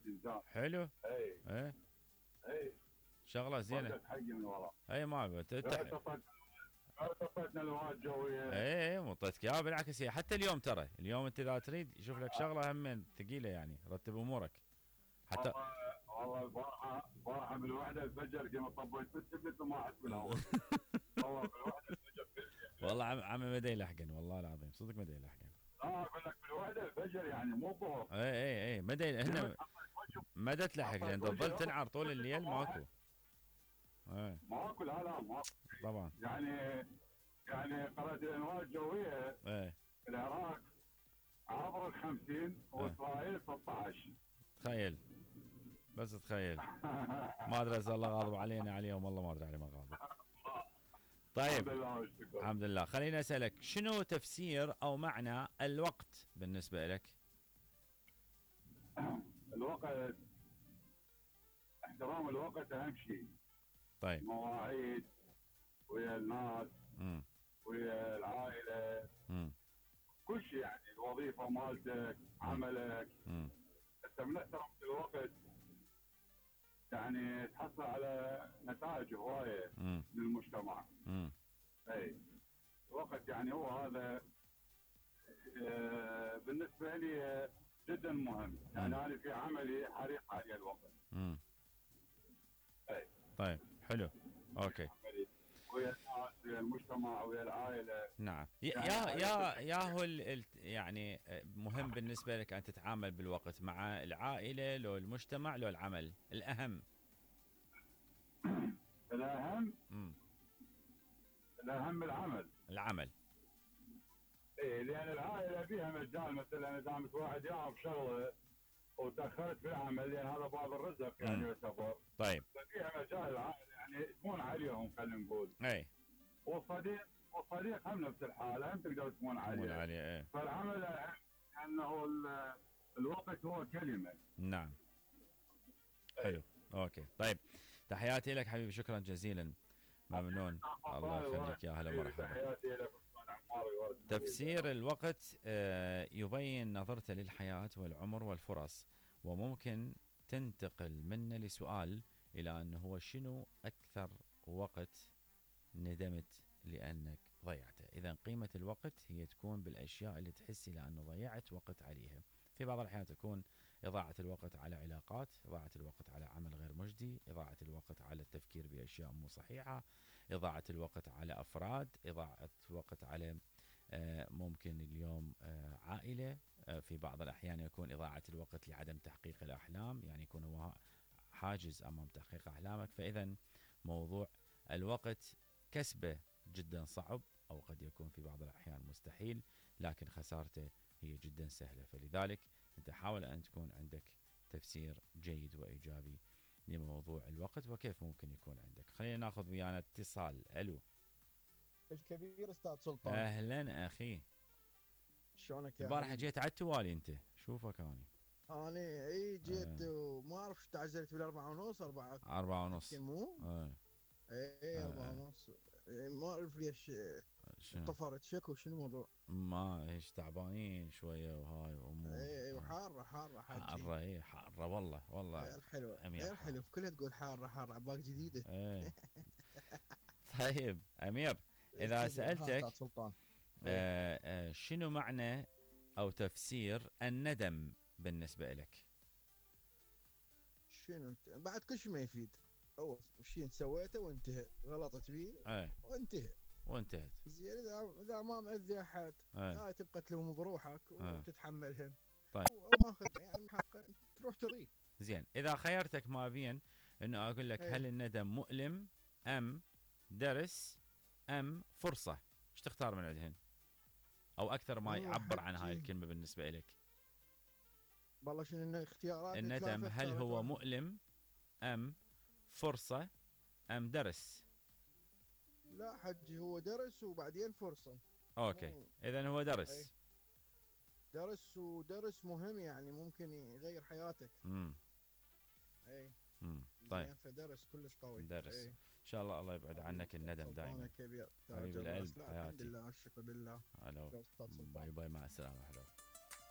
انسان. حلو. اي ايه اي شغله زينه. وقت حقي من ورا. اي ما غير طفيتنا الهواء الجويه. ايه مطيتك اياها بالعكس، هي حتى اليوم ترى، اليوم انت اذا تريد يشوف لك شغله هم ثقيله يعني، رتب امورك حتى. والله البارحه بالوحده الفجر كما طبيت بالتبت وما احس بالهواء. والله بالوحده الفجر والله عمي ما يلحقن والله العظيم، صدق ما يلحقن. اقول لك بالوحده الفجر يعني مو ظهر. اي ما هن ما تلحق لان تظل تنعر طول الليل ماكو. ماكو لا ماكو طبعا. يعني قرأت الانواع الجويه ايه في العراق عبر ال 50 واسرائيل 16. تخيل بس تخيل. ما ادري اذا الله غاضب علينا عليهم، والله ما ادري عليه ما غاضب. طيب الحمد لله. خليني اسالك شنو تفسير او معنى الوقت بالنسبه لك؟ الوقت، احترام الوقت اهم شيء. طيب مواعيد ويا الناس ويا العائله كل شيء، يعني الوظيفه مالتك عملك. انت من احترمت الوقت يعني تحصل على نتائج هوايه للمجتمع. اي الوقت يعني هو هذا بالنسبه لي جدا مهم. يعني انا في عملي حريص على الوقت. اي طيب حلو اوكي. ويا الناس ويا المجتمع ويا العائله. نعم يا هو يعني مهم بالنسبه لك ان تتعامل بالوقت مع العائله لو المجتمع لو العمل؟ الاهم الاهم العمل. ايه لان العائله فيها مجال، مثلا اذا دامت واحد يعرف شغله وتاخرت في العمل لان هذا باب الرزق يعني يعتبر. طيب ففيها مجال العائله يعني تمون عليهم خلينا نقول. اي والصديق هم نفس الحاله، هم تقدر تمون عليه. ايه. فالعمل انه الوقت هو كلمه. نعم حلو اوكي. طيب تحياتي لك حبيبي، شكرا جزيلا، ممنون. الله يخليك يا هلا مرحبا. تحياتي لك. تفسير الوقت يبين نظرته للحياة والعمر والفرص، وممكن تنتقل منه لسؤال إلى أنه هو شنو أكثر وقت ندمت لأنك ضيعته. إذا قيمة الوقت هي تكون بالأشياء اللي تحسي لأنه ضيعت وقت عليها. في بعض الأحيان تكون إضاعة الوقت على علاقات، إضاعة الوقت على عمل غير مجدي، إضاعة الوقت على التفكير بأشياء مو صحيحة، إضاعة الوقت على أفراد، إضاعة الوقت على ممكن اليوم عائلة. في بعض الأحيان يكون إضاعة الوقت لعدم تحقيق الأحلام، يعني يكون هو حاجز أمام تحقيق أحلامك. فإذا موضوع الوقت كسبه جدا صعب، أو قد يكون في بعض الأحيان مستحيل، لكن خسارته هي جدا سهلة. فلذلك أنت حاول أن تكون عندك تفسير جيد وإيجابي لموضوع الوقت وكيف ممكن يكون عندك. خلينا ناخذ ويانا اتصال. ألو الكبير استاذ سلطان. اهلا اخي، شلونك يا البارحه جيت على التوالي انت، شوفك انا اي جيت وما اعرف تعزلت بالاربعة ونص 4:30 مو اي 4:30 ما اعرف ليش طفرت شكو شنو الموضوع. ما ايش تعبانين شويه وهاي وامور. اي وحاره حاره حاره. اي حاره والله غير حلوه غير حلو، كلها تقول حاره عباك جديده. ايه طيب امير، اذا سالتك شنو معنى او تفسير الندم بالنسبه لك؟ شنو بعد كل شيء ما يفيد. اول شيء سويته وانتهى، غلطت فيه وانتهت. زين اذا ما مأذي احد هاي تبقى تلوم بروحك وتتحملهم. طيب ماخذ يعني حق تروح تضيع. زين اذا خيرتك ما بين انه اقول لك هل الندم مؤلم ام درس ام فرصه، ايش تختار من عندهن؟ او اكثر ما يعبر عن هاي الكلمه بالنسبه لك؟ والله شنو اختيارات الندم هل هو مؤلم ام فرصه ام درس؟ لا حجي هو درس وبعدين فرصه. اوكي اذا هو درس. درس مهم، يعني ممكن يغير حياتك. اي طيب فدرس كلش قوي. درس ان شاء الله يبعد عنك الندم دائما. كبير حبيب القلب حياتي. الحمد لله الشكر لله. باي باي مع السلامه.